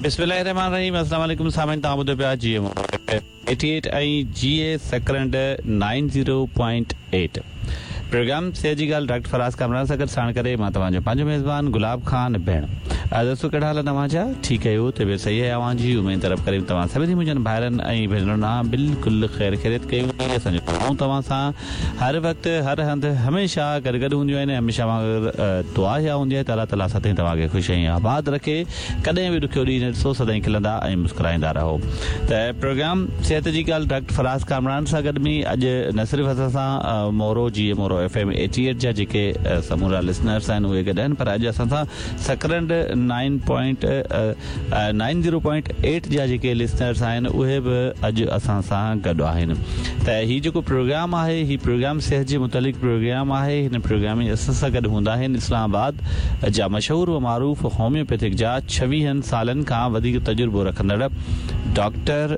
بسم الله الرحمٰن الرحيم السلام عليڪم سامعين توهان ٻڌو پيا جي ايم 88 ۽ جي اي سڪرنڊ 90.8 پروگرام صحت جي ڳالهه ڊاڪٽر فراز ڪامران سان گڏ ساڻ ڪري مان توهان جو پنهنجو ميزبان گلاب خان ڀيڻ دوستو ڪهڙا حال آهن اوهان جا ٺيڪ آهيو طبيعت صحيح آهي اوهان جي اميد ته رب ڪريم توهان سڀني منهنجن ڀائرن ۽ ڀينرن سان بلڪل خير خيريت ڪئي هوندي اسان جون دعائون توهان سان هر وقت هر هنڌ هميشه گڏ گڏ هونديون آهن ۽ هميشه وانگر دعا اها هوندي آهي ته الله تعالي سدائين توهان کي خوش ۽ آباد رکي ڪڏهن به ڏکيو ڏينهن نه ڏسو سدائين کلندا ۽ مسڪرائيندا رهو ته پروگرام صحت جي ڳالهه ڊاڪٽر فراز ڪامران سان گڏ ۾ اڄ نه صرف اسان سان مورو جي Moro F M eighty eight جا جيڪي سمورا لسنرس آهن اهي گڏ آهن پر اڄ اسان سان Sakrand nine point nine zero point eight جا جيڪي لسنرس آهن اهي به اڄ اسان سان گڏ آهن ته هي جيڪو پروگرام آهي هي پروگرام صحت جي متعلق پروگرام آهي هن پروگرام ۾ اسان سان گڏ هوندا آهن اسلام آباد جا مشهور و معروف هوميوپيٿڪ جا ڇويهن سالن کان وڌيڪ تجربو رکندڙ ڊاڪٽر.